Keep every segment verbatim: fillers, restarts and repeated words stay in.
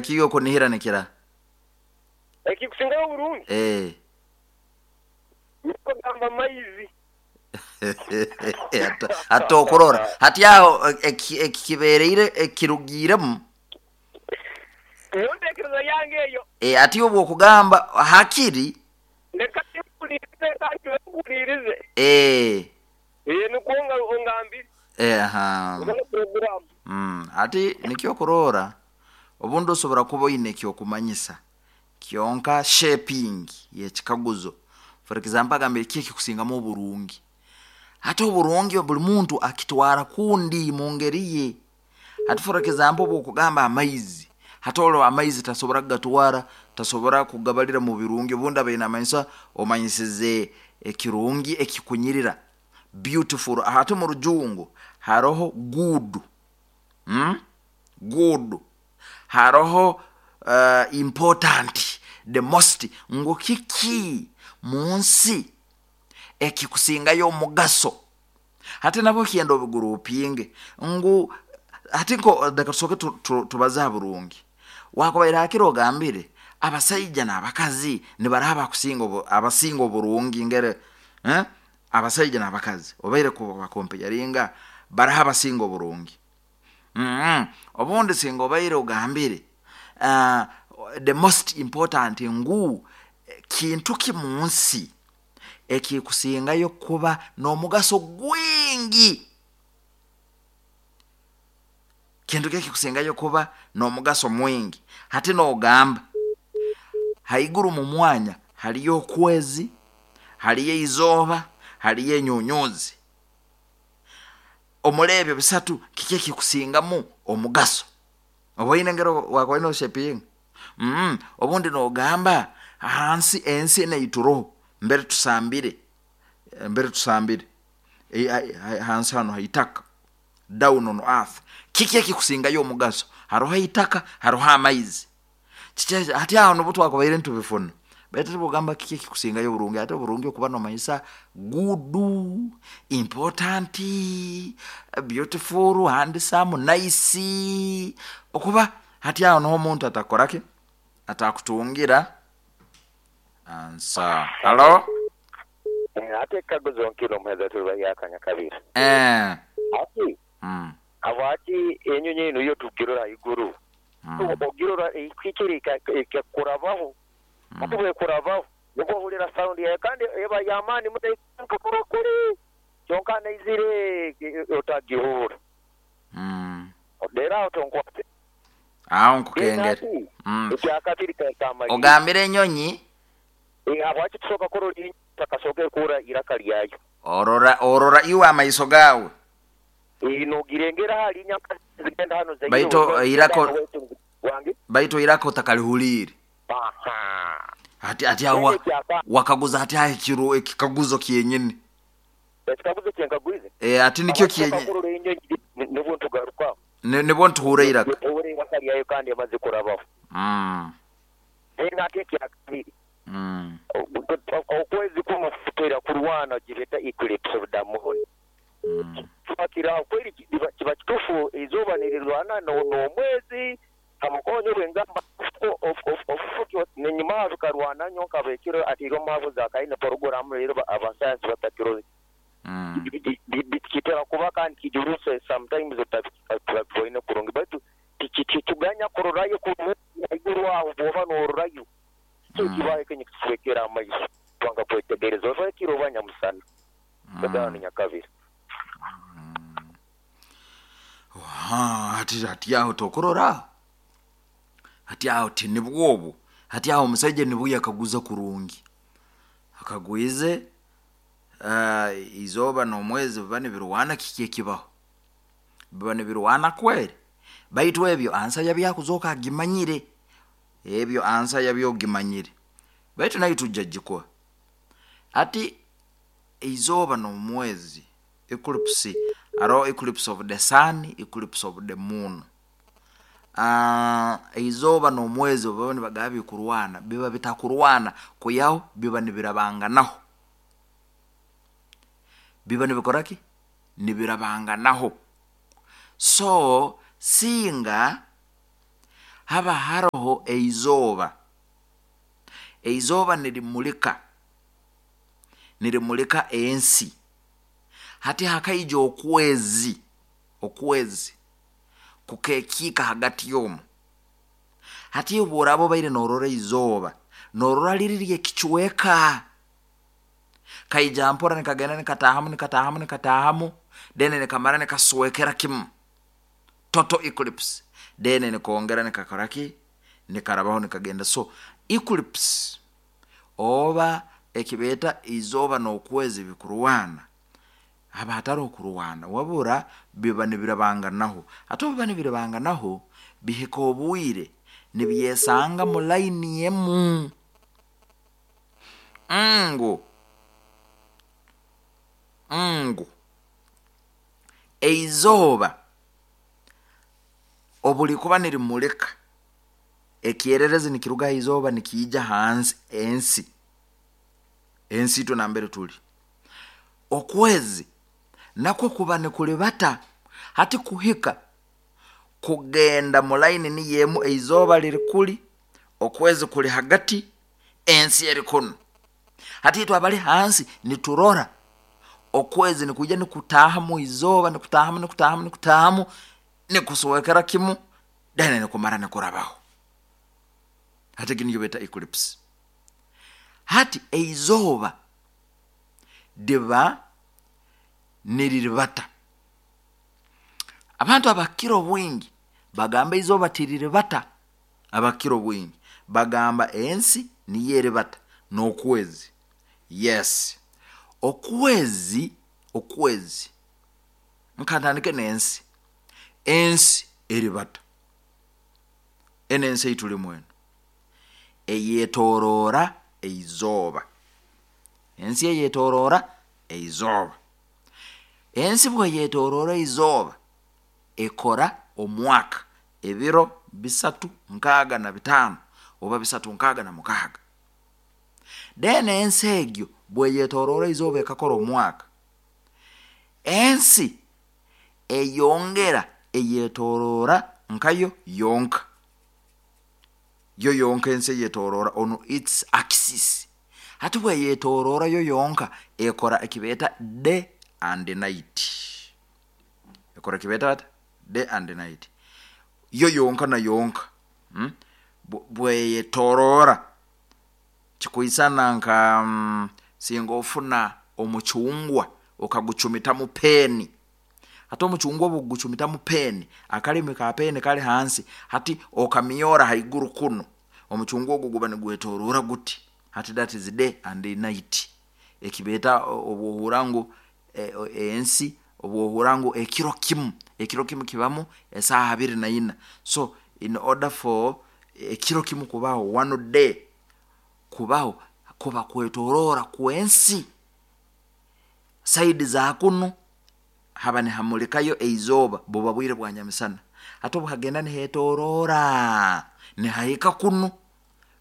Ekiyo okunihira nikira. Ekikusingayo oburungi Eh. niko gamba amaizi. Ate okurora hati aho eki- ekikibereire ekirugiremu. Niyo ntekereza yange eyo. E, ati obwo okugamba hakiri. Leka nkuwulirize, kandi nkuwulirize. Eh. Eh, nukwo nga- ongambire. Eh, aha. Ubone programu. Mm, ati nikyo kurora obundi osobora kuba oine ekyokumanyisa kyonka shaping yekikaguzo. For example, agambire ki ekikusingamu oburungi, ate oburungi buli muntu akitwara kundi mu ngeri ye. Hati for example, obwokugamba amaizi, hati olwo amaizi tasobora kugatwara, tasobora kugabalira mu birungi. Obundi abaine amanyisa omanyisize ekirungi ekikunyirira, beautiful. Hati mu rujungu haroho good, mm? Good, haroho uh, important, the most, ngu kiki mu nsi ekikusingayo omugaso. Hati nabo kyenda obigurupinge ngu hati nko leka tusooke tu- tu- tubaze ha burungi. Wakubaire hakiri ogambire abasaija n'abakazi nibaraha abakusinga obu- abasinga oburungi ngere, eh? Abasaija n'abakazi obaire kubakompeyaringa baraha abasinga oburungi. Mm-hmm. Obundi singa obaire ogambire uh, the most important, ngu kintu ki mu nsi ekikusingayo kuba n'omugaso gwingi, kintu ki ekikusingayo kuba n'omugaso mwingi. Hati n'ogamba haiguru mu mwanya haliyo okwezi, haliyo izooba, haliyo enyunyuzi, omuri ebyo bisatu kiki ekikusingamu omugaso? Oba oine engeri wakuba oshepinga. Mm, obundi n'ogamba hansi ensi eneituroho mbere tusambire, mbere tusambire e, ha- hansi hano haitaka, down on earth, kiki ekikusingayo omugaso? Haroho eitaka, haroho amaizi. Kiki hati aho nibwo twakubaire ntubifuna, baitu tibugamba kiki ekikusingayo oburungi. Ate oburungi okuba nomanyisa good, important, beautiful, handsome, nice, okuba hati aho niho omuntu atakoraki atakutungira ansa. Halo. Ate ekikaguzo nkiro omuheereza tuliba yakanya kabiri. Eh. Ati mm. habwaki enyonyi eno yo tugirora haiguru, Mm. ogirora ekikiri ekakurabaho, ate bwekurabaho nibwo ohurira sound yayo kandi eba y'amaani muno kuri kyonka naizire otagihurra. Mm. Rero aho tonkwate. Aho nkukengera. Mm. Ekyakabiri kamalire. Ogambire enyonyi. Habwaki tusooka kurora enyonyi tutakasooka kurra iraka lyayo? Orora orora iwe amaiso gawe. Nogirengera hali nyaka zigenda hano zaire. Baitu, irako- wange baitu iraka otakalihulire. Aha. Hati ati aho wa- wakaguza hati aho ekiro ekikaguzo kyenyini. Ekikaguzo kyenkaguize. E, ati nikyo Habwaki tusooka kyenye kurora enyonyi nibwo ntugarukaho. Ni- nibwo ntuhura iraka. Tuhura iraka lyayo kandi emaze kurabaho. Mm. Then ate ekyakabiri, Mm. okwezi kumu kutera kurwana gibeta eclipse of the moon. Mm. Twakira kweri kiba kiba kitufu izooba nirirwana n'omwezi kamukonyo bwengamba nenyuma bikarwana nyo nkabekiro ati omuhabuzi akaine poroguramu rero abasayansi batakiro. Mm. Kitera kuba kandi kijuruse sometimes otabibone kurungi, baitu tikituganya kurorayo haiguru aho bwoba nororayo kyo Mm. kibaye kenye kiswekera amaiso twanga kwetegereza oba ekiro oba nyamusana bagana nyakabiri. Aha, hati hati aho tokurora hati aho ti nibwobu hati aho omusaija nibwo yakaguza kurungi akagwize uh, izooba n'omwezi biba nibirwana kiki ekibaho biba nibirwana kweri, baitu ebyo ansa yabyakuzoka agimanyire, ebyo ansa yabyogimanyire, baitu nayo tujja gikuha. Ati izooba n'omwezi eclipse, hariho eclipse of the sun, eclipse of the moon. Uh, izooba n'omwezi baba nibagaba bikurwana, biba bitakurwana kuyaho biba nibirabanganaho, biba nibikoraki nibirabanganaho. So singa Haba haroho eizooba, eizooba nirimulika, nirimulika ensi. Hati hakaija okwezi, okwezi kukekiika hagati y'omu. Hati obu oraaba obaire noorora izooba, noorora liri ly'ekicweka kaija mpora nikagenda nikataahamu nikataahamu nikataahamu, then nikamara nikaswekera kimu, total eclipse, then nikongera nikakora ki, nikarabaho nikagenda. So eclipse oba ekibeeta izooba n'okwezi bikurwana, haba hataroho kurwana, wabura biba nibirabanganaho. Hati obu biba nibirabanganaho, bihika obwire nibyesanga mu layini emu, ngu ngu eizooba obu likuba nirimulika, ekyererezi nikiruga ha izooba nikiija hansi ensi, ensi itwe nambere tuli. Okwezi nakwo kuba nikulibata, hati kuhika kugenda mu layini niyo emu, eizooba liri kuli, okwezi kuli hagati, ensi eri kunu. Hati itwe abali hansi niturora okwezi nikwija nikutaahamu izooba, nikutaahamu nikutaahamu nikutaahamu, nikuswekera kimu, then nikumara nikurabaho. Hati egi niyo beeta eclipse. Hati eizooba liba niriribata. Abantu abakira obwingi bagamba izooba tiriribata, abakira obwingi bagamba ensi niyo eribata n'okwezi. Yes, okwezi, okwezi nkantandike n'ensi, ensi eribata. Enu ensi ei tulimu enu eyetoroora eizooba, ensi eyetoroora eizooba. Ensi obu eyetoroora eizooba, ekora omwaka ebiro bisatu nkaaga na bitaano oba bisatu nkaaga na mukaaga. Then ensi egyo obu eyetoroora eizooba ekakora omwaka, ensi eyongera eyetoroora nkayo yonka, yo yonka ensi eyetoroora on its axis. Hati obu eyetoroora yo yonka, ekora eki beeta day and night, ekora eki beeta bata, day and night, yo yonka na yonka, mm bweyetoroora kikwisana nka singa ofuna omucungwa okagucumitamu peeni. Hati omucungwa obu okugucumitamu peeni, akalimi ka peeni kali hansi, hati okamyoora haiguru kunu, omucungwa ogu guba nigwetoroora guti, hati that is day and night. Eki beeta obu ohurra ngu ensi, obu ohurra ngu ekiro kimu, ekiro kimu kibamu esaaha abiri na ina, so in order for ekiro kimu kubaho, one day kubaho, kuba kwetoroora kw'ensi. Side za kunu haba nihamulikayo eizooba, buba bwire bwa nyamisana, hati obu hagenda nihetoroora nihahika kunu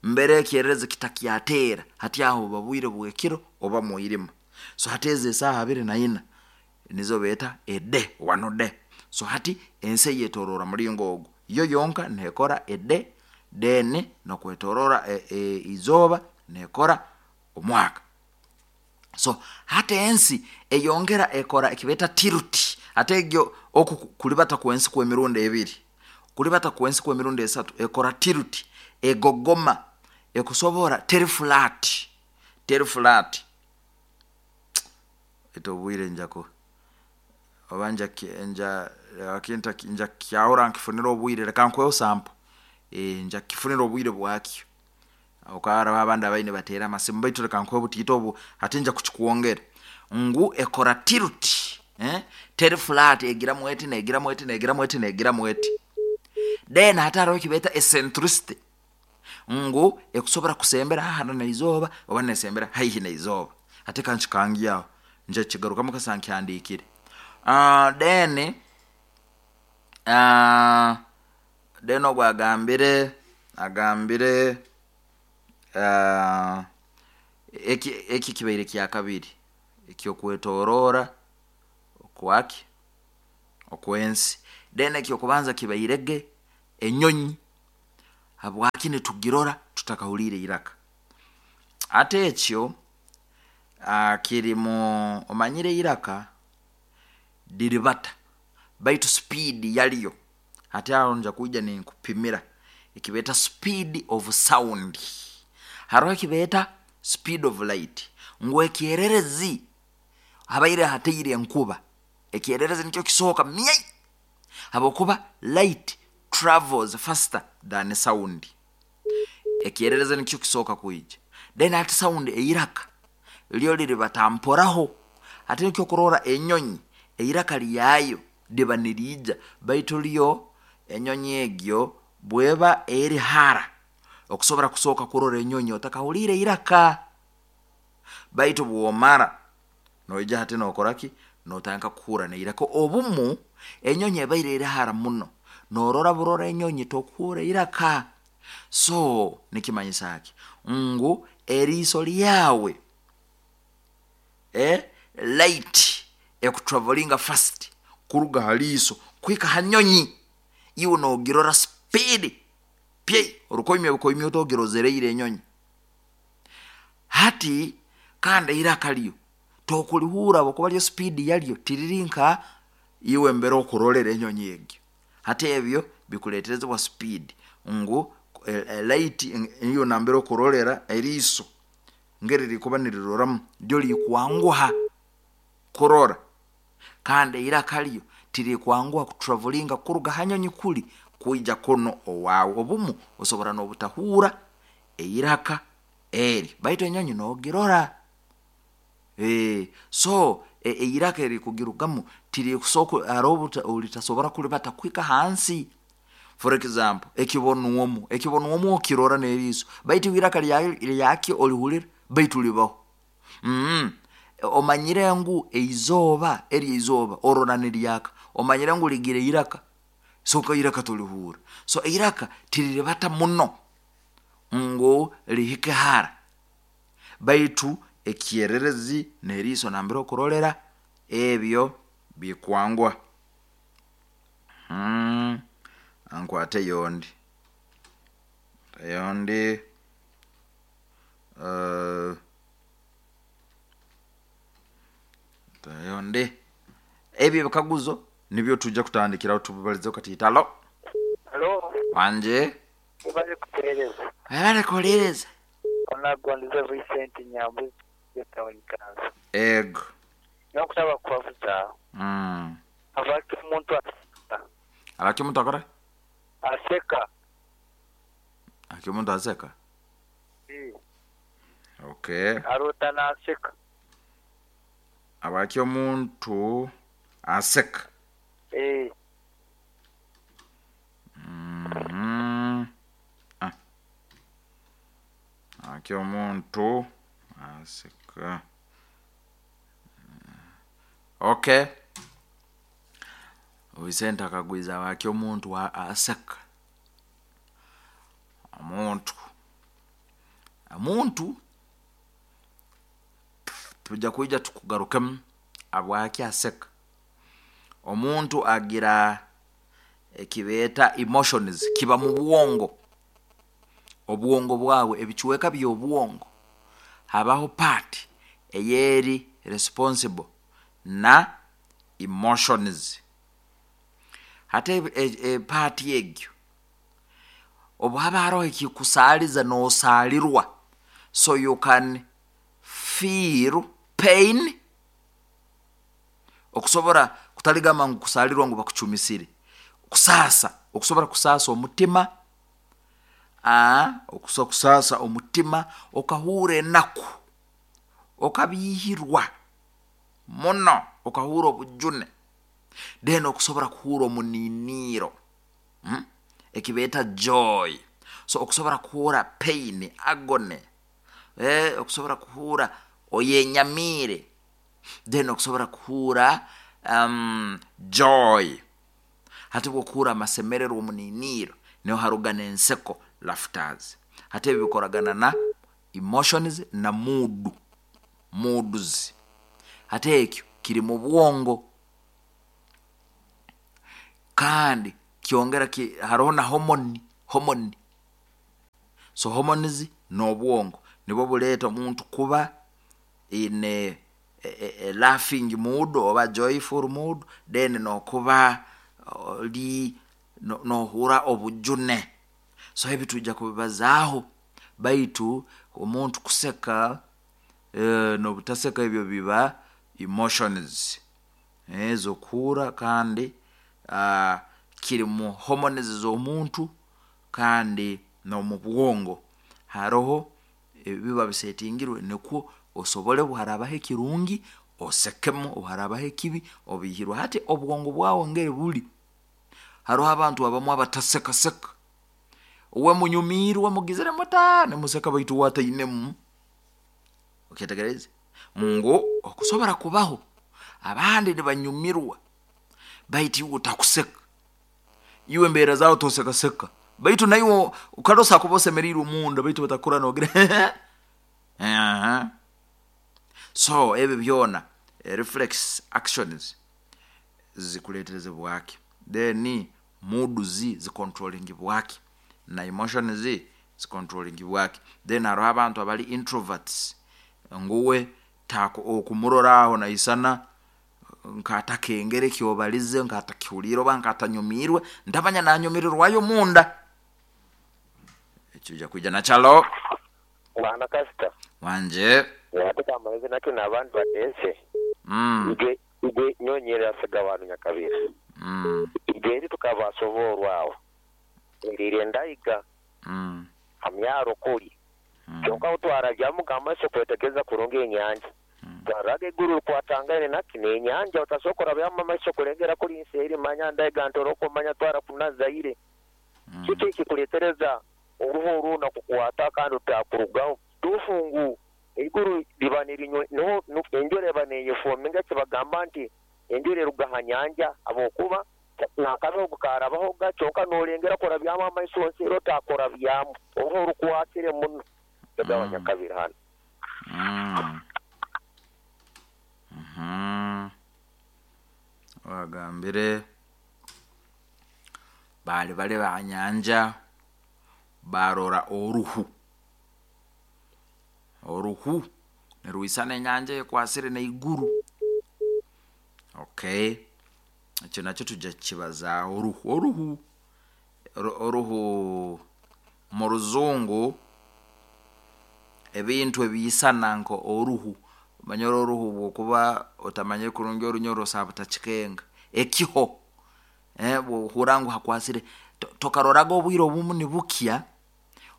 mbere ekyererezi kitakyateera, hati aho buba bwire bw'ekiro oba mwirima. So hati ezi esaaha abiri na ina nizo beeta a day, one day. So hati ensi eyetoroora muringo ogu, yo yonka neekora a day, then n'okwetoroora eizooba neekora omwaka. So hati ensi eyongera ekora eki beeta tilt, hati egyo oku kulibata kw'ensi kw'emirundi ebiri, kulibata kw'ensi kw'emirundi esatu, ekora tilt, egogoma, ekusobora teri flat, teri flat, baitu obwire nja ku oba nja nja nja kukyahura nkifunire obwire, leka nkuheho sample, nja kukifunira obwire bwakyo. Habwokuba haroho abandi ababaire nibateera amasimu, baitu leka nkuhe obutiito obu, hati nja kukikwongera, ngu ekora tilt, teri flat, egiramu eti negiramu eti negiramu eti negiramu eti. Then hati haroho eki beeta eccentricity, ngu ekusobora kusembera hara n'eizooba oba nesembera haihi n'eizooba. Hati kankikange aho, nja kukigarukamu kasita nkihandiikire. Then then ogu agambire, agambire eki eki kibaire kyakabiri eky'okwetoroora okwaki, okw'ensi. Then eky'okubanza kibairege enyonyi. Habwaki nitugirora tutakahuliire iraka? Ate ekyo ah, kiri mu omanyire iraka diribata, baitu speed yalyo hati aho nja kwija ninkupimira ekibeeta speed of sound. Haroho ekibeeta speed of light, ngu ekyererezi habaire hateire enkuba, ekyererezi nikyo kisooka myai, habwokuba light travels faster than sound. Ekyererezi nikyo kisooka kwija, then ati sound eiraka lyo liribata mporaho. Ate nikyo kurora enyonyi eiraka lyayo liba niriija, baitu lyo enyonyi egyo bweba eri hara, okusobora kusooka kurora enyonyi otakahuliire iraka, baitu bwomara noija hati nokora ki, notandika kuhurra n'iraka. Obumu enyonyi ebaire eri hara muno, norora burora enyonyi tokuhurra iraka. So nikimanyisa ki, ngu eriiso lyawe, eh, light ekutravellinga fast kuruga ha liiso kuhika ha nyonyi, iwe nogirora speed pye, orukoimya bukoimya oti ogirozeriire enyonyi. Hati kandi eiraka ryo tokulihurra habwokuba ryo speed yaryo tiriri nka iwe mbere okurolera enyonyi egyo. Hati ebyo bikuleeterezibwa speed, ngu light iwe nambere okurolera eriiso ngeri rikuba niriroramu ryo rikwanguha kurora, kandi eiraka ryo tirikwanguha kutravellinga kuruga ha nyonyi kuli kwija kunu owaawe. Obumu osobora n'obutahuurra eiraka eri, baitu enyonyi nogirora. So eiraka erikugirugamu tirikuso haroho obu ritasobora kulibata kuhika hansi. For example ekibonwomu, ekibonwomu okirora n'eriiso, baitu iwe iraka lyakyo olihurra? Baitu libaho. Omanyire ngu eizooba, eri eizooba orora niryaka, omanyire ngu ligira eiraka? So iraka tolihuurra. So eiraka tiriribata muno ngu lihike hara, baitu ekyererezi n'eriiso nambere okurolera ebyo bikwanguha. Kankwateyo ondi, ondi nteyo ondi, ebi ebikaguzo nibyo tujja kutandikiraho tubibalizeho katiito. Halo? Halo. Wanje. Webale kuteereza. Webale kuhuliiriza. Onagondize Vincent Nyambuzi town council. Ego. Nokusaba kubabuza. Mm. Habwaki omuntu aseka? Habwaki omuntu akora? Aseka. Habwaki omuntu aseka? Eh. Okay. Arota naseka. Habwaki omuntu aseka? Eh. Mhm. Ah. Habwaki omuntu aseka? Okay. Vicente akagwiza habwaki omuntu aseka. Omuntu omuntu tujja kwija tukugarukemu habwaki aseka. Omuntu agira ekibeeta emotions, kiba mu bwongo, obwongo bwawe, ebicweka by'obwongo habaho part eyeri responsible na emotions. Hati part egyo obu haba haroho ekikusaaliza noosaalirwa, so you can feel pain, okusobora kutaligamba ngu kusaalirwa ngu bakucumisire, kusaasa, okusobora kusaasa omutima, okusobora kusaasa omutima okahurra enaku, okabiihirwa muno, okahurra obujune, then okusobora kuhuurra omuniiniiro, eki beeta joy. So okusobora kuhuurra pain, agony, okusobora kuhuurra oyenyamiire, then okusobora kuhuurra joy. Hati obu okuhuurra amasemererwa, omuniiniiro, niho haruga n'enseko, laughters. Hati ebi bikoragana na emotions na mood, moods. Hati ekyo kiri mu bwongo, kandi kyongera haroho na hormone, hormone. So hormones n'obwongo nibwo buleeta omuntu kuba in a, a, a laughing mood oba joyful mood, then nokuba oli no- nohura obujune. So ebi tujja kubibazaaho, baitu omuntu kuseka eh, n'obutaseka ebyo biba emotions ezokuhura, kandi uh, kiri mu hormones z'omuntu kandi n'omu bwongo haroho ebiba bisetingirwe nikwo osobole obu harabaho ekirungi osekemu, obu harabaho ekibi obihirwe. Hati obwongo bwawe ngeri buli, haroho abantu abamu abatasekaseka, uwe munyumiirwe mugizire muta nimuseka, baitu uwe atainemu. Okyetegereze ngu okusobora kubaho abandi nibanyumirwa, baitu iwe otakuseka, iwe embeera zawe tosekaseka, baitu naiwe kale kuba osemeriirwe munda, baitu batakura nogira Aha. So ebi byona eh, reflex actions zikuletereze bwaki, then mood zi zicontrolling bwaki na emotions zi zicontrolling bwaki. Then haroho abantu abali introverts, nguwe tako okumurora aho naisana nkatakengere ekyobalize, nkatakihuliire oba nkatanyumiirwe, ntamanya nanyumirirwayo munda. Ekyo kwija nakyalo. Bwana kasita. Wanje. Ate kamalize nakyo n'abandi bateese. mm. Igwe igwe nyonyera asiga abantu nyakabira. Mm. Igwe eri tukabasoborwawo erire ndayiga Mm. hamyaro kuli. Mm. Kyonka utwarajyamu amaiso kwetegereza kurungi enyanja, twaraga eiguru rikwatangane naki n'enyanja otasokora byamu amaiso kulengera kuli nsi eri manya ndayiga ntoro okumanya twara kunazaire. Mm. Kiki ekikuletereza oruhu oruna kukwata kandi otakurugaho tufungu eiguru liba nirinywe niho nu- enjura eba neyefominga kibagamba nti enjura eruga ha nyanja habwokuba nakabeho karabaho kyonka nolengera kora byamu amaiso nsi era otakora byamu oruhu orukwatire muno tegabanya Mm. kabiri hano. Mm. Mhm. Bagambire bali bali banyanja barora oruhu, oruhu nirwisana enyanja ekwasire neiguru. Okay, ekyo nakyo tujja kukibazaaho. Oruhu, oruhu Oru- oruhu mu ruzungu ebintu ebiisana nka oruhu, omanyire oruhu bwokuba otamanyire kurungi orunyoro osaba butakikenga ekiho, eh, bwohura ngu hakwasire to- tokaroraga obwire obumu nibukya,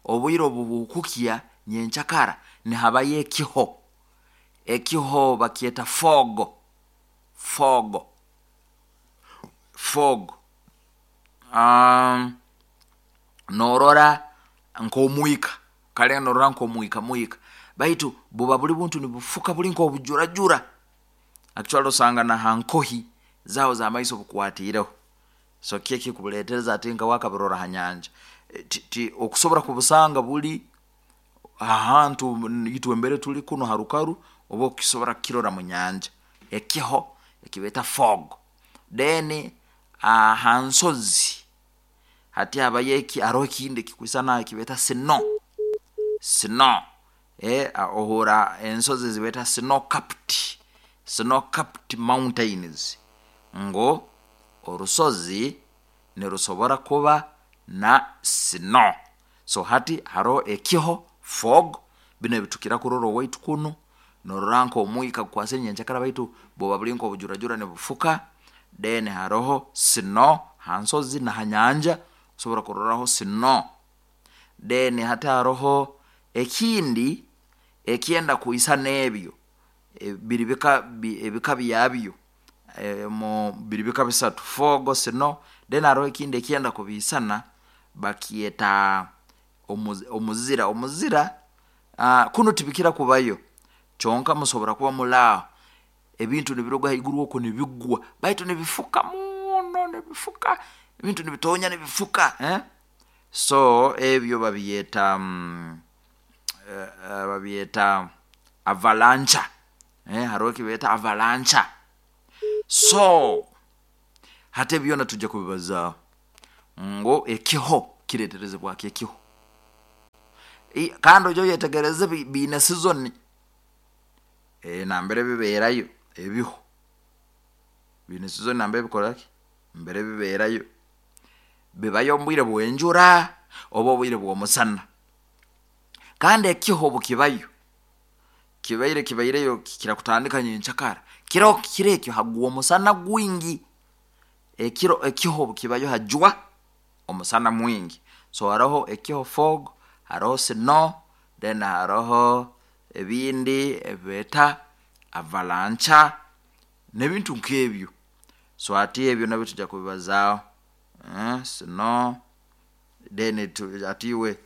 obwire obu bukukya nyenkyakara nihabayo ekiho, ekiho bakyeta fog, fog, fog. um, norora nk'omwika kale norora nk'omwika mwika, baitu buba buli buntu nibufuka buli nk'obujurajura, actually osanga na hankohi zaho z'amaiso bukwatiireho. So ki ekikubuleetereza ati nka wakabirora ha nyanja. E, ti, ti, okusobora kubusanga buli ahantu itwe embere tuli kuno harukaru, oba okukisobora kukirora mu nyanja ekiho ekibeeta fog. Then aha nsozi hati habayo eki, haroho ekindi ekikwisana ekibeeta snow, snow eh, ohura ensozi zibeeta snow capped, snow capped mountains, ngo orusozi nirusobora kuba na snow. So hati haroho ekiho fog, binu ebitukira kurora owaitu kunu norora nk'omwika gukwasire nyenkyakara, baitu buba buli nk'obujurajura nibufuka. Then haroho snow ha nsozi na ha nyanja osobora kuroraho snow. Then hati haroho ekindi ekyenda kwisana ebyo, e, biri bika bi- ebika byabyo, e, mu biri bika bisatu, fog, snow. Then haroho ekindi ekyenda kubiisana bakyeta omuzi- omuzira, omuzira uh, kunu tibikira kubayo, kyonka musobora kuba mulaaho ebintu nibiruga haiguru okwo nibigwa, baitu nibifuka muno, nibifuka ebintu nibitonya nibifuka, eh? So ebyo babyeta mm, eh, eh, babyeta avalanche, eh, haroho ekibeeta avalanche. So hati ebyona tujja kubibazaaho ngu ekiho kireterezebwaki ekiho. I- kandi ojo oyetegereze bi- biine season e, nambere bibeerayo ebiho biine season nambere bikoraki mbere bibeerayo bibayo omu bwire bw'enjura oba obwire bw'omusana kandi ekiho obukibayo kibaire kibaireyo kirakutandika nyenkyakara kiro kiro ekyo hagwa omusana gwingi ekiro ekiho obukibayo hajwa omusana mwingi so haroho ekiho fog haroho snow then haroho ebindi ebibeeta avalanche n'ebintu nk'ebyo so ati ebyo nabyo tujja kubibazaaho eh, snow then tu, atiwe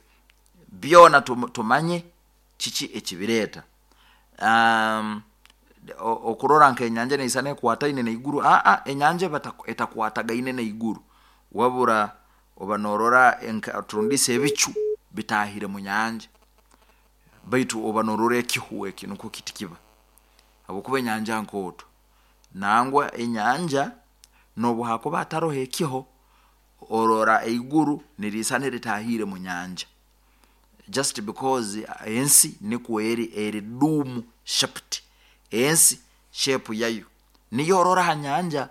byona tum, tumanye kiki ekibireeta um, o- okurora nk'enyanja neisana ekwataine n'eiguru aa enyanja eba etaku- etakwatagaine n'eiguru wabura oba norora enka- turundisa ebicu bitahire mu nyanja baitu oba norora ekihu eki nukwo kiti kiba habwokuba enyanja nkooto nangwa enyanja nobu hakuba hataroho ekiho orora eiguru niriisana eritahire mu nyanja just because ensi nikwo eri eri dome shaped ensi shape yayo niyo orora ha nyanja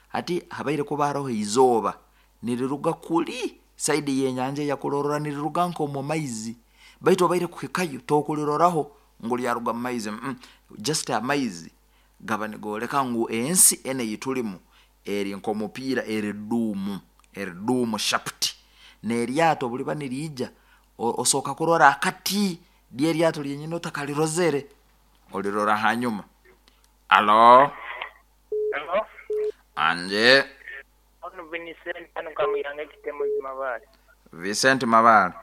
hati habaire kuba haroho izooba niriruga kuli side y'enyanja eyakurorora niriruga nk'omu maizi baitu obaire kuhikayo tokuliroraho ngu lyaruga mu maizi mm -mm. just amaizi gaba nigooleka ngu ensi enu eyitulimu eri nk'omupiira eri dome eri dome shaped n'eryato obuliba niriija o- osooka kurora akati ly'eryato lyenyini otakarirozere olirora hanyuma alo Hello? anje Ono Vincent hano kamuyanga ekitemo Mabale. Vincent Mabale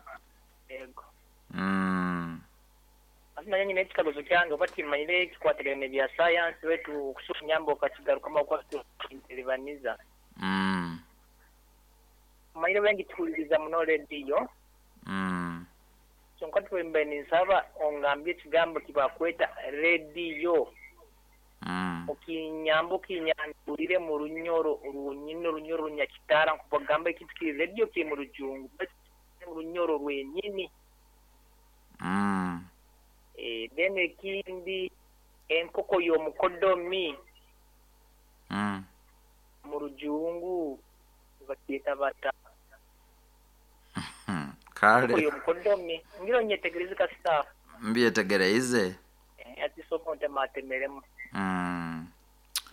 Yego. mm. Ati naye nyine ekikaguzo kyange oba timanyire ekikwatagana n'ebya science wetu okusuka nyamba okakigarukamu okwateribaniza. Mm. Manyire bengi tuwuliriza muno rediyo Mm. kyonka twembe ninsaba ongambye ekigambo kibakweta rediyo Mm. okinyamba okinyandulire mu runyoro rwonyini orunyoro runyakitara nkubagamba ekintu kiri rediyo kiri mu rujungu mu runyoro rwenyini Mm. Eh, then ekindi enkoko y'omukodomi Mm. mu rujungu bakyeta bata Hmm. enkoko Kale y'omukodomi ngira onyetegereze kasita mbyetegereize eh, ati soko ntematemeremu mm.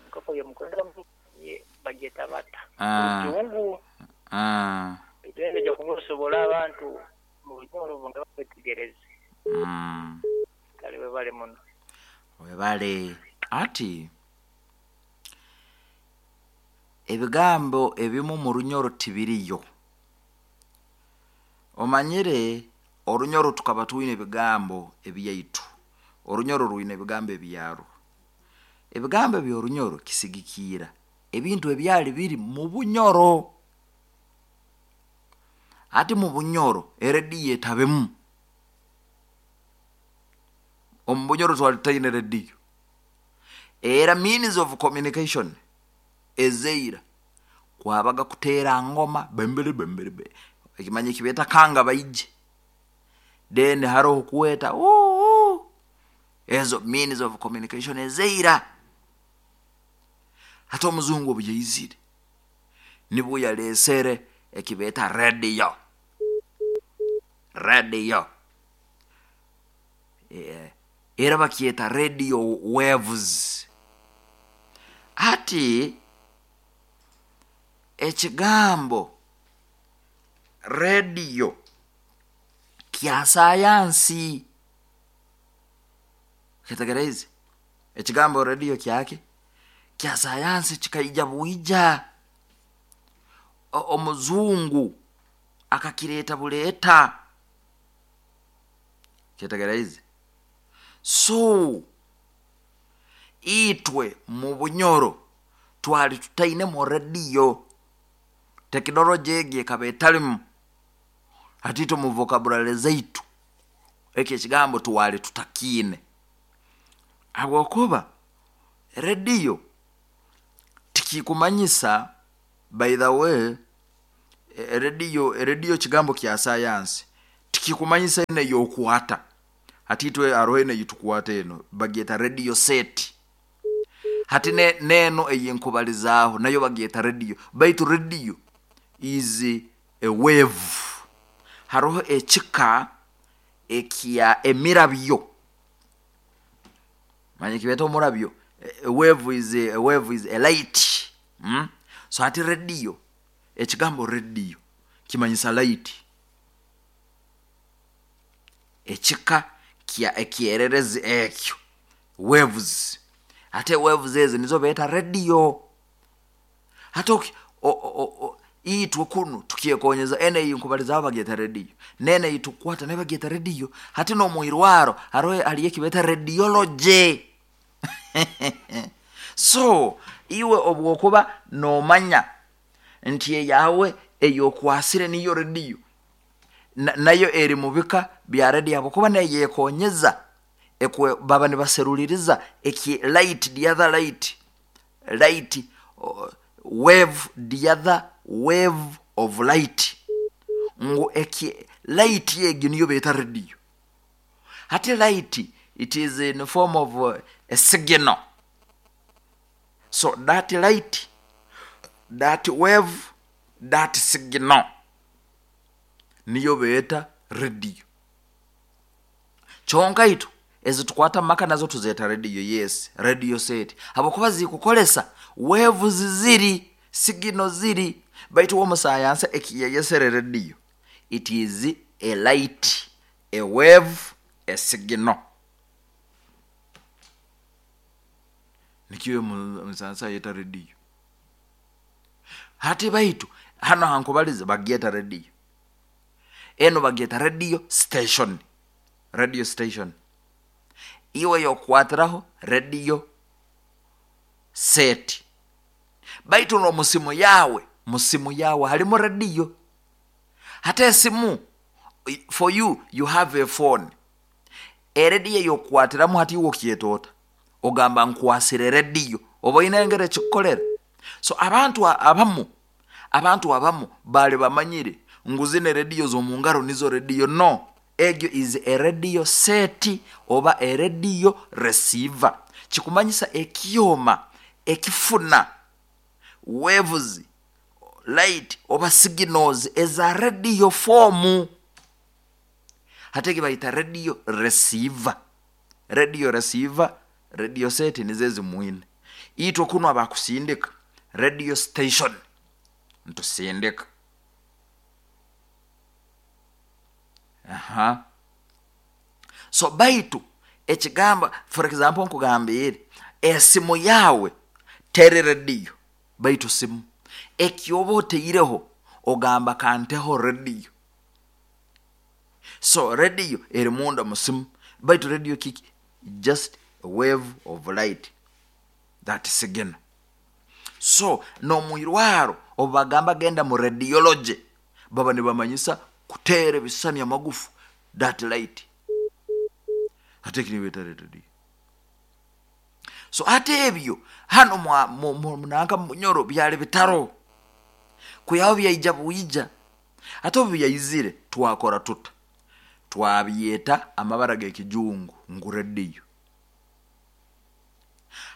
enkoko y'omukodomi ye- bagyeta bata Ah. rujungu Ah. ejo kungosobola abantu mu runyoro nga bakwetegereze Mm. kale webale muno webale ati ebigambo ebimu mu runyoro tibiriyo omanyire orunyoro tukaba twine ebigambo ebyaitu orunyoro rwine ebigambo ebyarwo ebigambo ebyorunyoro kisigikiira ebintu ebyali biri mu bunyoro ati mu bunyoro erediyo etabemu omu bunyoro twali tutaine rediyo era means of communication ezeira kwabaga kuteera ngoma bembere bembere be ekimanyi kibeeta kanga baije then haroho kuweta "Uu, uu." ezo means of communication ezeira hati omuzungu obu yaizire nibwo yaleesere ekibeeta radio radio Eh, era bakyeta radio waves ati ekigambo radio kya sayansi kitegereize ekigambo radio kyake kya sayansi kikaija bwija O- omuzungu akakireeta buleeta kyetegereize so itwe mu bunyoro twali tutainemu rediyo tekinologi egi ekaba etalimu hati itwe mu vocabulary zaitu ekyo ekigambo twali tutakiine habwokuba rediyo tikikumanyisa by the way e- rediyo rediyo kigambo kya sayansi Tikikumanyisa ene yokwata hati itwe aroho ene yitukwata eno bagyeta radio set. Hati ne, neno eyenkubalizaaho nayo bagyeta radio, baitu radio is a wave. Haroho ekika ekya emirabyo, manye kibeta omurabyo. A wave is a, a wave is a light, mm? So hati radio, ekigambo radio kimanyisa light, ekika kya ekyererezi ekyo waves. Ate waves ezi nizo beeta radio. Hati oki- o- o- o- itwe kunu tukyekonyeza ene eyi nkubalizaho bagyeta radio, nene eyi tukwata nayo bagyeta radio. Hati n'omwirwaro hariho haliyo ekibeeta radiology. So iwe obwokuba nomanya nti eyawe eyokwasire niyo radio, na, nayo eri mubika bya radio, habwokuba nayo yekonyeza ekwe baba nibaseruliriza eki light, the other light, light uh, wave, the other wave of light, ngu eki light egi niyo beeta radio. Hati light, it is in form of uh, a signal. So that light, that wave, that signal niyo beeta radio. Kyonka itu ezitukwata mumaka nazo tuzeeta radio. Yes, radio set, habwokuba zikukolesa waves ziri signal ziri. Baitu womusayansa ekiyeyesere radio, it is a light, a wave, a signal. Nikyo musayansa ayeta radio. Hati baitu hano hankubaliza bagyeta radio, eno bagyeta radio station, radio station iwe yokwatiraho radio set. Baitu nomusimu yawe, musimu yawe halimu radio. Hata esimu, for you, you have a phone, erediyo yokwatiramu hati iwe okyetoota ogamba nkwasire rediyo, oba oyina engeri ekikukolera. So abantu abamu, abantu abamu bali bamanyire ngu zino rediyo z'omungaro nizo rediyo. No, egyo is a radio set oba a radio receiver. Kikumanyisa ekyoma ekifuna waves, light oba signals eza radio form, hati egi bayita radio receiver. Radio receiver, radio set nizo ezimwine. Itwe kunu abakusindika radio station ntusindika. Aha. So baitu ekigamba, for example nkugambire esimu yawe tere radio, baitu simu ekyoba oteireho ogamba kanteho radio. So radio eri munda musimu, baitu radio kiki? Just a wave of light, that signal. So nomwirwaro obagamba genda mu radiology, baba nibamanyisa kuteera ebisani amagufu, that light, ate kinibeta radio. So ate ebyo hano mwa munanka munyoro byali bitaro kuyaho byaija bwija. Ate obu byaizire twakora tuta, twabyeta amabara g'ekijungu ngu radio.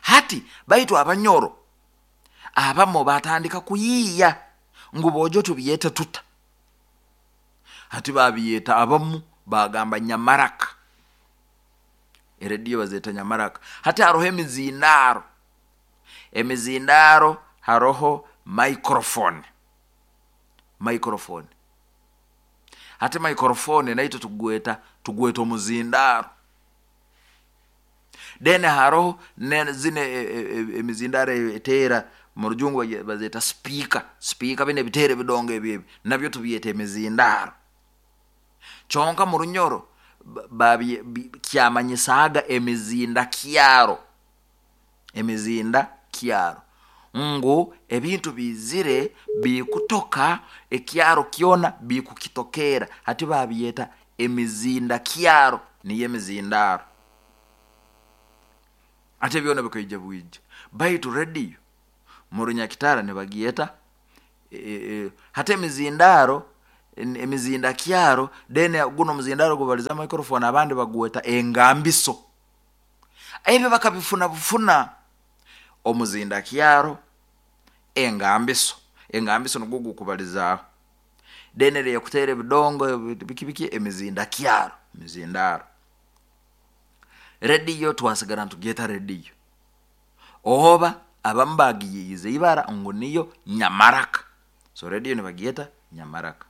Hati baitu abanyoro abamo batandika kuyiiya ngu bojo tubyete tuta. Hati babyeta abamu bagamba nyamaraka, erediyo bazeta nyamaraka. Hati haroho emizindaro, emizindaro haroho microphone, microphone. Hati microphone naito tugweta, tugweta omuzindaro. Then haroho ne zine emizindaro etera mu rujungu bazeta speaker, speaker bine bitere bidongo ebi nabyo tubyeta emizindaro. Kyonka mu runyoro babye kyamanyisaaga emizinda kyaro, emizinda kyaro ngu ebintu bizire bikutoka ekyaro kyona bikukitokera. Hati babyeta emizinda kyaro, niyo emizindaro. Ate byona bikaija bwija. Baitu radio mu runyakitara nibagyeta e, e, hati emizindaro Emizinda kyaro, then guno omuzindaro gubaliza microphone, abandi bagweta engambiso. Ebyo bakabifuna bufuna omuzinda kyaro, engambiso. Engambiso nugwo gukubalizaaho, then eriyekutera ebidongo biki biki, emizinda kyaro, emizindaro. Rediyo twasigara nitugyeta rediyo, oba abamu bagiyiize ibara ngu niyo nyamaraka. So rediyo nibagyeta nyamaraka.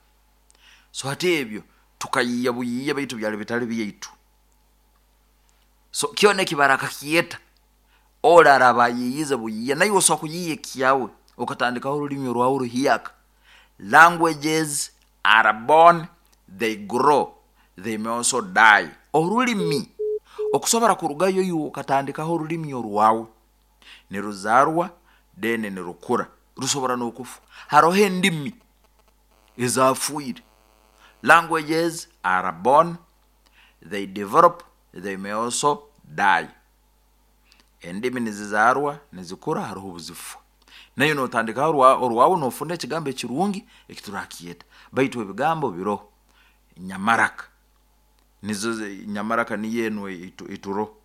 So hati ebyo tukayiiya buyiiya, baitu byali bitali byaitu. So kyona eki barakakyeta, oli araaba ayiiyize buyiiya, naiwe osobola kuyiiya ekyawe okatandikaho orulimi orwawe oruhyaka. Languages are born, they grow, they may also die. Orulimi okusobora kurugayo iwe okatandikaho orulimi orwawe, niruzarwa, then nirukura, rusobora n'okufa. Haroho endimi ezaafwire. Languages are born, they develop, they may also die. Endimi nizizarwa, nizikura, haroho obuzifa. Nayo notandikaho orwawe, nofuna ekigambo ekirungi ekiturakyeta. Baitu ebigambo biroho. Nyamaraka nizo, nyamaraka niyo enu eturoho.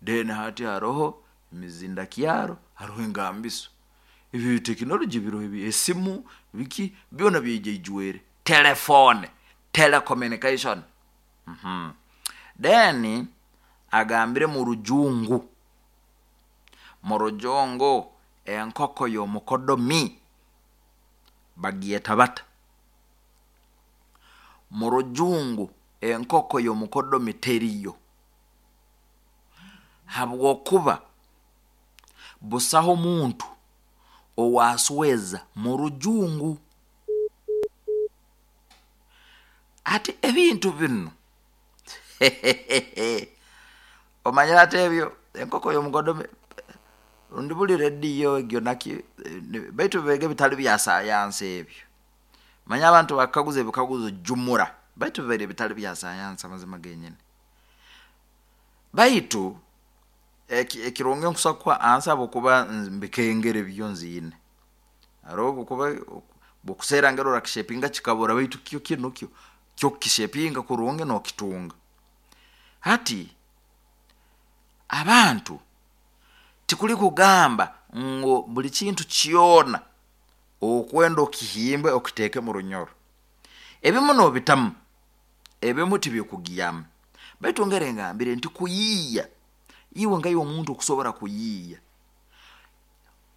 Then hati haroho emizindakyaro, haroho engambiso. Ebi tekinologi biroho, esimu biki byona byaija ijwere, telefone, telecommunication. Then agambire mu rujungu, mu rujungu enkoko y'omukodomi bagyeta bata? Mu rujungu enkoko y'omukodomi teriyo, habwokuba busaho muntu owasweza mu rujungu. Ati ebintu binu omanyire, ati ebyo enkoko y'omukodomi rundi buli rediyo egyo naki, baitu bibaire bitali bya sayansi ebyo. Manya abantu bakaguza ebikaguzo jumura, baitu bibaire bitali bya sayansi amazima genyini. Baitu ekirungi nkusobora kukuha answer, habwokuba mbikengere byo nziine. Haroho obukuba bwokuseera ngeri orakishepinga kikabura, baitu kyo kinu kyo kyo kukishepinga kurungi nokitunga. Hati abantu tikuli kugamba ngu buli kintu kyona okwenda okihimbe okiteeke mu runyoro. Ebimu nobitamu, ebimu tibikugyamu. Baitu ngeri ngambire nti kuyiiya, iwe nkaiwe omuntu okusobora kuyiiya,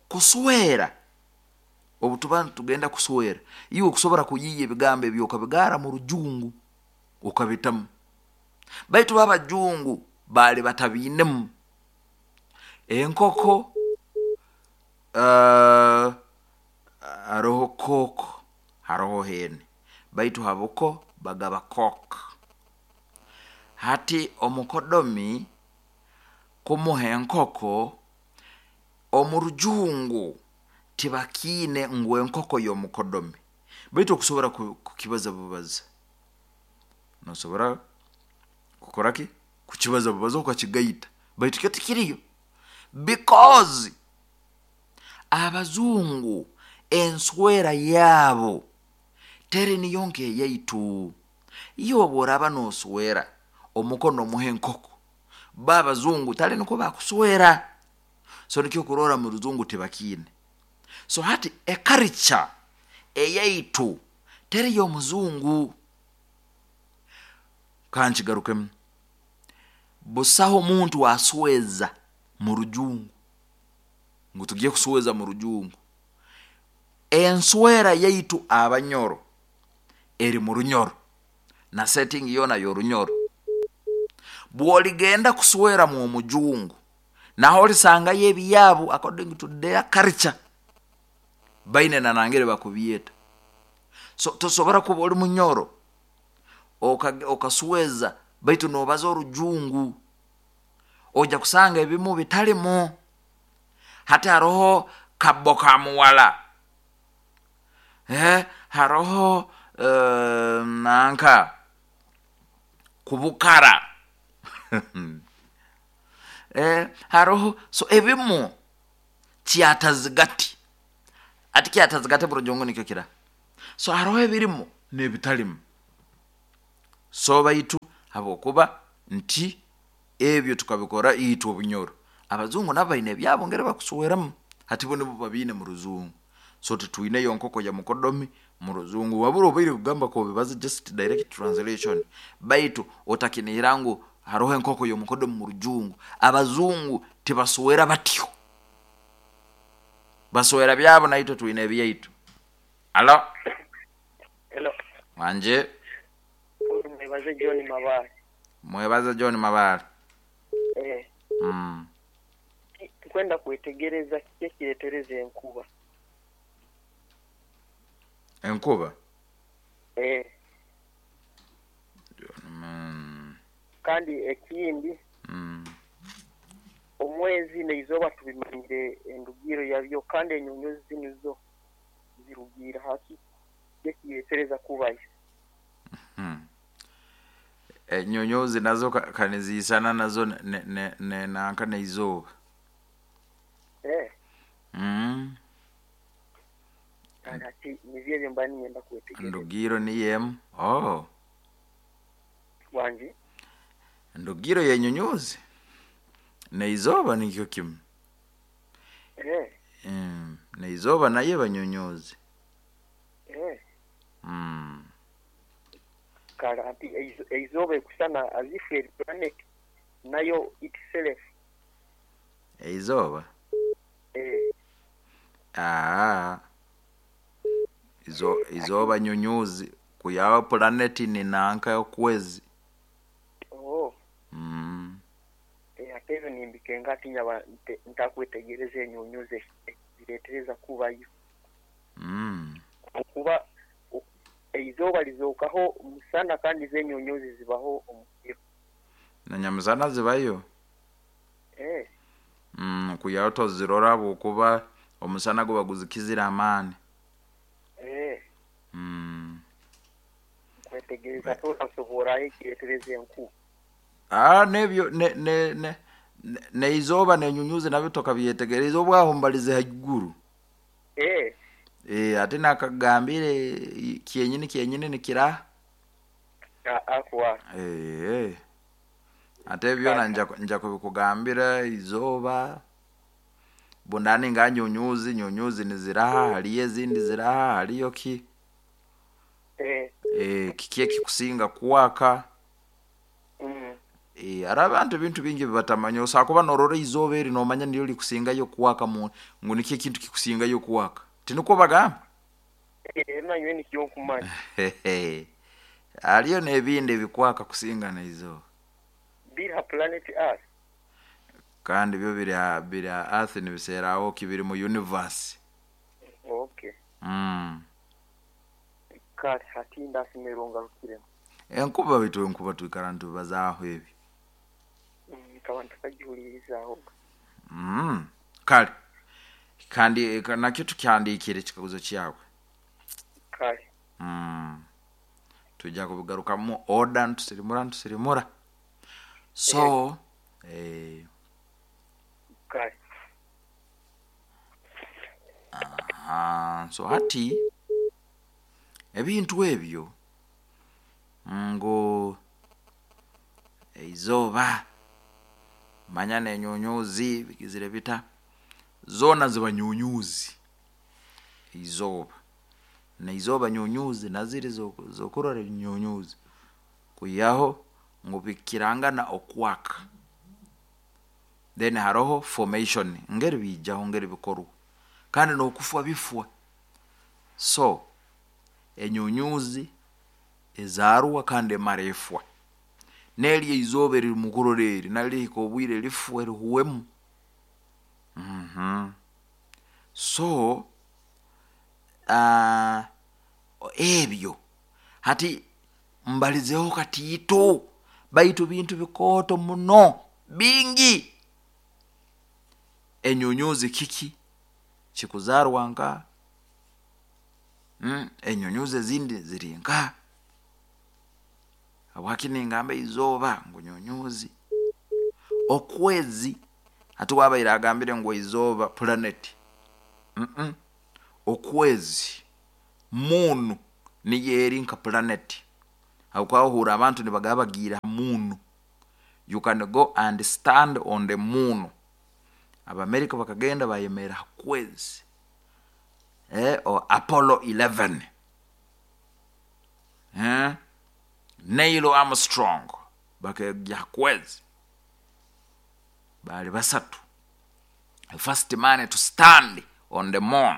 kuswera, obu tuba nitugenda kuswera, iwe okusobora kuyiiya ebigambo ebi okabigaara mu rujungu okabitamu. Baitu bo abajungu baali batabiinemu. Enkoko, uh, haroho cock, haroho hen, baitu habuko bagaba cock. Hati omukodomi kumuha enkoko omu rujungu tibakiine ngu enkoko y'omukodomi, baitu okusobora kukibaza bubaza, nosobora kukora ki, kukibaza bubaza okakigaita, baitu kyo tikiriyo, because abazungu enswera yaabo teri niyo nk'eyaitu. Iwe obu oraaba noswera omukono omuha enkoko, bo abazungu tali nikwo bakuswera. So nikyo okurora mu rujungu tibakiine. So hati ekarica eyaitu teri y'omuzungu. Kankigarukemu, busaho omuntu asweza mu rujungu ngu tugye kusweza mu rujungu. Enswera yaitu abanyoro eri mu runyoro, na setting yoona y'orunyoro. Bwoligenda kuswera mu omujungu, naho olisangayo ebyabu according to their culture, baine nanangere bakubyeta. So tosobora kuba oli munyoro okasweza baitu nobaza orujungu, ojja kusanga ebimu bitalimu. Hati haroho kabo ka muwala, eh, haroho uh, nanka kubukara eh, haroho so ebimu kyatazigati, ati kyatazigati burujungu nikyo kira. So haroho ebirimu N'ebitalimu. So baitu habwokuba nti ebyo tukabikora itwe obunyoro, abazungu nabo baine ebyabo ngeri bakusweramu, hati bo nibo babiine mu ruzungu. So titwineyo nkoko ya mukodomi mu ruzungu, wabura obaire kugamba kobibaza just direct translation, baitu otakinihira ngu haroho enkoko y'omukodomi mu rujungu. Abazungu tibaswera batyo, baswera byabo, naitwe twine ebyaitu. Alo? Hello. Wanje. Mwebaze John Mabale. Mwebaze John Mabale. Eh. Mm. Tukwenda kwetegereza kiki ekiretereza enkuba. Enkuba? Eh. Mm. Kandi ekindi, Mm. omwezi n'eizooba tubimanyire endugiro yabyo, kandi enyonyozi zinu zo zirugira haki ekiretereza kubayo. Hmm. Enyonyozi nazo ka- kanizisana nazo ne, ne, ne, nanka n'eizooba. Eh. Mm. Kandi ati nivyo ebyo mba ninyenda kwetegereza. Ndugiro niyo emu. Oh. Wangi? Ndugiro y'enyonyozi n'eizooba nikyo kimu. Eh. Mm. N'eizooba nayo eba nyonyozi. Eh. Mm. Kale ati eizo- eizooba ekusana as if eri planet nayo itself. Eizooba? Eh. Aa. Izo, izooba nyonyozi kuyawa planeti ni nanka y'okwezi. Oh. Mm. Eh, ate ebyo nimbikenga ati nyaba nte- ntakwetegereza enyonyozi ziretereza kubayo. Mm. Okuba o- eizooba lizookaho musana kandi z'enyonyozi zibaho omukiro. Na nyamusana zibayo. Eh. Mm, kuyaho tozirora habwokuba omusana guba guzikizire amaani. Eh. Mm. Kwetegereza totasoborayo ekiretereza enkuba. Ah, nebyo ne ne ne ne- neizooba nenyunyuzi nabyo tokabyetegereza obwaho mbalize haiguru. Eh. Eh, ate nakagambire i- kyenyini kyenyini nikiraha. A- akwa. Eh. Ate byona nja nja kubikugambira izooba bundani nga nyunyuzi nyunyuzi niziraha, haliyo ezindi ziraha, haliyo ki Eh. eh, kiki ekikusinga kuwaka. Mm. Eh, hari abantu ebintu bingi bibatamanya, osobola kuba norora izooba eri nomanya niryo likusingayo kuwaka mu ngu nikyo ekintu kikusingayo kuwaka, tinikwo bagamba? Eh, nanywe nikyo nkumanya. Haliyo n'ebindi ebikwaka kusinga n'eizooba. Biri ha planet Earth. Kandi byo biri ha biri ha earth nibiseeraho ki biri mu universe. Okay. Mm. Kale hati ndasimira ongarukiremu. Enkuba baitu enkuba twikara nitubazaaho ebi. Mm, nkaba ntakagihuririzaaho. Mm. Kale kandi eh, nakyo tukyandiikire ekikaguzo kyawe. Kale. Mm. Tujja kubigarukamu order ntusirimura ntusirimura. So eh, Kale. Aha, so hati ebintu ebyo ngu eizooba manya n'enyunyuzi bigizire bita, zoona ziba nyunyuzi. Izooba n'eizooba nyunyuzi naziri zo- zokurora nyunyuzi kwihaho ngu bikirangana okwaka. Then haroho formation ngeri biijaho ngeri bikorwa kandi n'okufwa bifwa. So enyunyuzi ezaarwa kandi emara efwa, n'eryo eizooba eriri mukurora eri naryo lihika obwire lifwe rihuwemu. Mhm. So uh, ebyo hati mbalizeho katiito, baitu bintu bikooto muno bingi. Enyunyuzi kiki kikuzaarwa nka mm, enyunyuzi ezindi ziri nka habwaki ningamba izooba ngu nyunyuzi. Okwezi hati wabaire agambire ngu izooba planet. Mm -mm. Okwezi moon Niyo eri nka planet. Habwokuba abantu nibagaba bagiire ha moon. You can go and stand on the moon. Abamerika bakagenda bayemerera ha kwezi. Eh, o Apollo eleven. Eh? Neil Armstrong bakagya ha kwezi. Bali basatu. The first man to stand on the moon.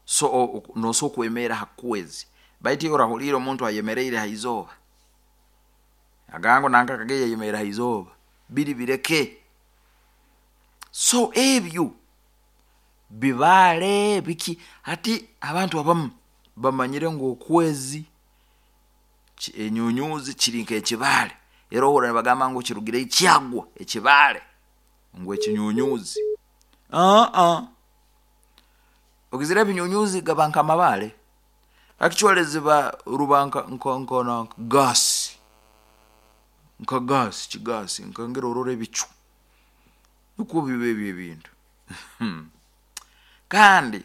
So noso kwemera ha kwezi. Baiti orahulira omuntu ayemereire ha izooba. Agango nanka kageye yemera ha izooba. Biri bireke. So ebyo bibale biki hati abantu abamu bamanyire ngu okwezi enyunyuzi kiri nk'ekibaale. Era ohura nibagamba ngu kirugire ekyagwa ekibaale ngu ekinyunyuzi. Uh-uh. Ogizire ebinyunyuzi gaba nk'amabaale. Actually ziba ruba nka nka nka nka gas. Nka gas, kigasi, nka ngera orora ebicu. Nukwo biba ebyo ebintu. Kandi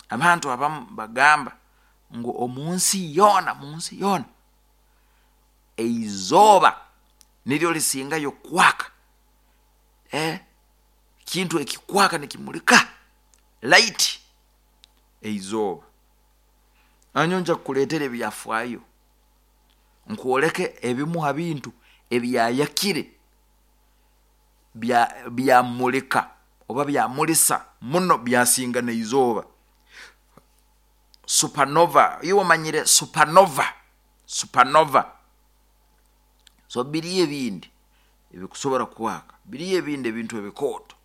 abantu abamu bagamba ngu omunsi yoona, munsi yoona eizooba niryo lisingayo kwaka. Eh? Kintu ekikwaka nikimulika light eizooba. Anyo nja kukuleetera ebyafaayo nkwoleke ebimu ha bintu ebyayakire bya byamulika oba byamulisa muno byasinga n'eizooba. Supernova, iwe omanyire supernova, supernova. So biriyo ebindi ebikusobora kwaka, biriyo ebindi ebintu ebikooto.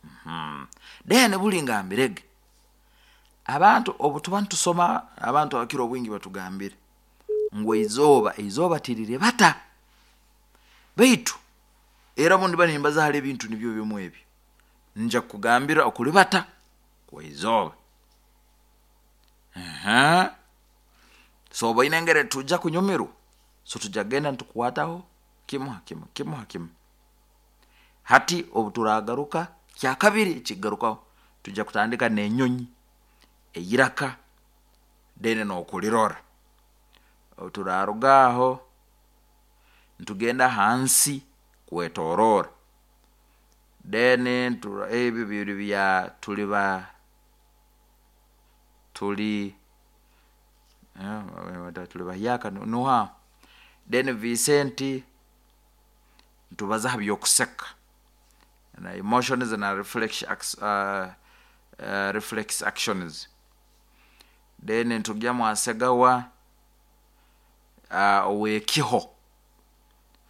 Mm-hmm. Then buli ngambirege abantu obu tuba nitusoma abantu abakira obwingi batugambire ngu eizooba, eizooba tiriribata. Baitu era bundi bani nimbaza hali ebintu nibyo bimu ebyo. Nja kugambira okulibata kwa izooba. Aha. So obaine engeri tujja kunyumirwa. So tujja kugenda nitukwataho kimu ha kimu, kimu ha kimu. Hati obu turagaruka kya kabiri kigarukaho tujja kutandika n'enyonyi eyiraka then n'okulirora. Obu turaruga aho nitugenda hansi kwetorora. Then ebyo biri bya tuli ba tuli eh, tuli bahyaka nuha. Then Vicente ntubaza ha byokuseka na emotions na reflex, uh, uh, reflex actions. Then ntugya mwasegawa uh, owekiho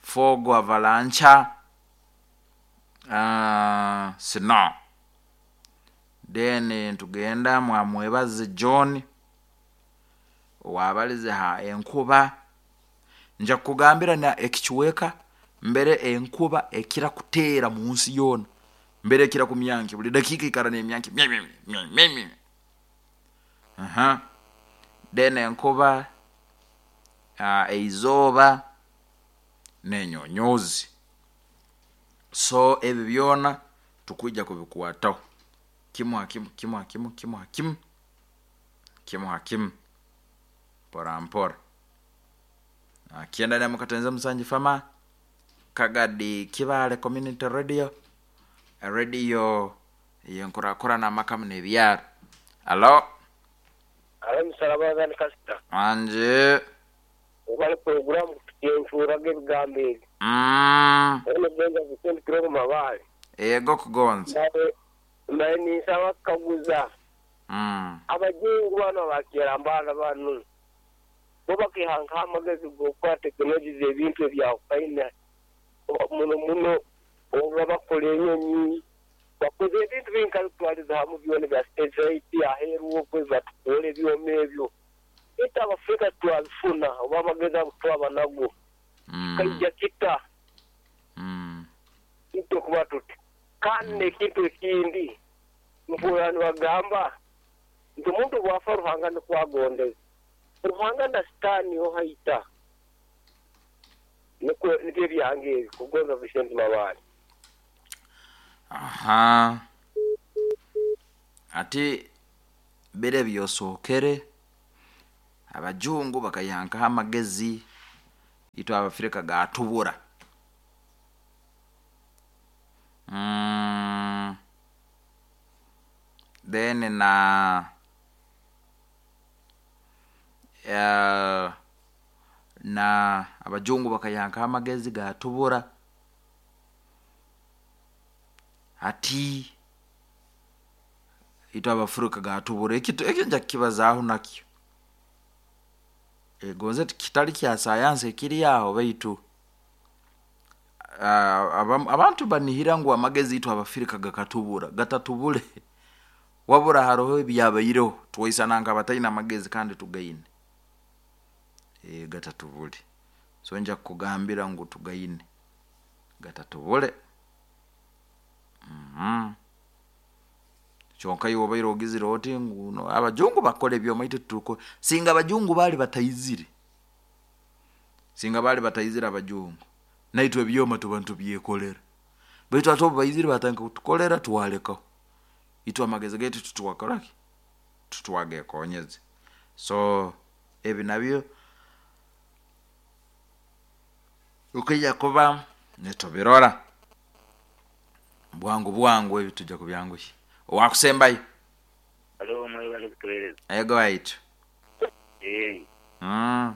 fogo avalanche uh, snow. Then ntugenda mwamwebaze John owabalize ha enkuba. Nja kugambira na ekichweka mbere enkuba ekira kuteera mu nsi yoona, mbere ekira kumyanki buli dakika ikara n'emyanki mye, mye, mye, mye, mye. Aha. Then enkuba uh, eizooba n'enyonyozi. So ebyo byona tukwijja kubikwataho kimu ha kimu, kimu ha kimu, kimu ha kimu, kimu ha kimu, mpora mpora. Kienda na mukatenza musanji fama Kagadi Kibale Community Radio, radio yenkurakura na makamu n'ebyaro. Alo. Alo musalabaza ni kasita. Anje. Obale programu yenfuraga ebigambo ebi. Mm. Ono genza kusendi kirogo mabale. Ego kugonza. Naye naye nisaba kukaguza. Mm. Abajingu bano bakera mbana bano. Bo bakihanka amagezi g'okukola tekinologi z'ebintu ebyakufaina muno muno oba bakola enyonyi bakoze ebintu bingi bitwaliza hamu byona bya state aheeru okwe batukola ebyoma ebyo. Ita Abafrika twabifuna oba amagezi ago twaba nago. Mm. Kaija kita. Mm. Ito kuba tuti. Kandi n'ekintu ekindi mpurira nibagamba nti omuntu bw'afa Ruhanga nikwagondeza. Ruhanga na Sitaani ohaita. Nikwo nibyo ebyange ebi kugonza Vicente Mabale. Aha. Ati bire byosookere Abajungu bakayankaho amagezi, itwe Abafrika gatubura. Mm. Then na uh, na abajungu bakayankaho amagezi gatubura. Hati itwe Abafrika gatubura, ekitu ekyo nja kukibazaaho nakyo. Egonze kitali kya sayansi ekiri aho, baitu uh, abantu banihira ngu amagezi itwe Abafrika gakatubura, gatatubule. Wabura haroho ebyabaireho twaisana nka bataine amagezi kandi tugaine. E, gatatubule. So nja kukugambira ngu tugaine, gatatubule. Mm-hmm. Kyonka iwe obaire ogizire oti ngu no, abajungu bakora ebyoma itwe tuko. Singa abajungu bali bataizire, singa bali bataizire abajungu, naitwe ebyoma tuba ntubyekolera. Baitu ate obu baizire batandika kutukolera, twalekaho. Itwe amagezi gaitu tutwakoraki, tutwagekonyeze. So ebi nabyo ukija kuba nitubirora bwangu bwangu, ebi tujja kubyanguhya. Owakusembayo. Alo, mwebale kutuweereza. Ego waitu. Eh, Mm.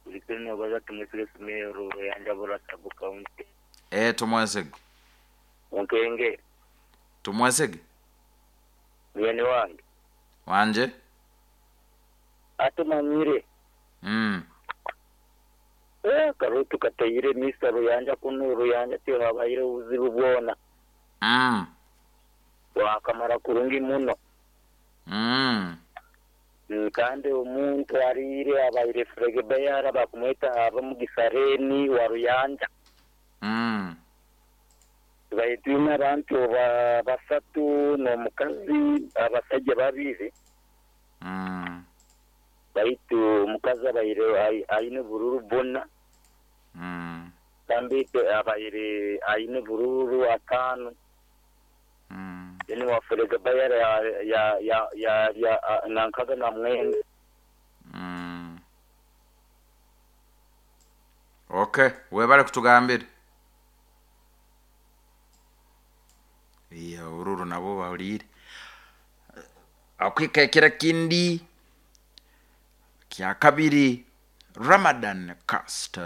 bulikiro nobaza tumwesige Sumero yanjabura sub county. Eh, tumwesege. Onkenge Tumwesege. mwene wange Wanje. atumanyire. Mm. Eh, karutu katayire misa ruyanja kuno ruyanja tiyo habayire obuzibu bwona. Mm. Wakamara kurungi muno. Mm. Mm, kandi omuntu ariire abaire fregebayara bakumweta aba mugisareni wa ruyanja. Mm. Tubaye abantu ba basatu n'omukazi abasajja babiri. Mm. Baitu omukazi abaire aine bururu buna. Mm. Kandi abaire aine bururu ataano. Mm. Then wafurega bayara ya ya ya ya, ya nankaga na mwenda. Mm. Okay, webale kutugambira. Iya ururu nabo bahulire. Akwikekera kindi kya kabiri, Ramadan Cast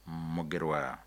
Mugerwa.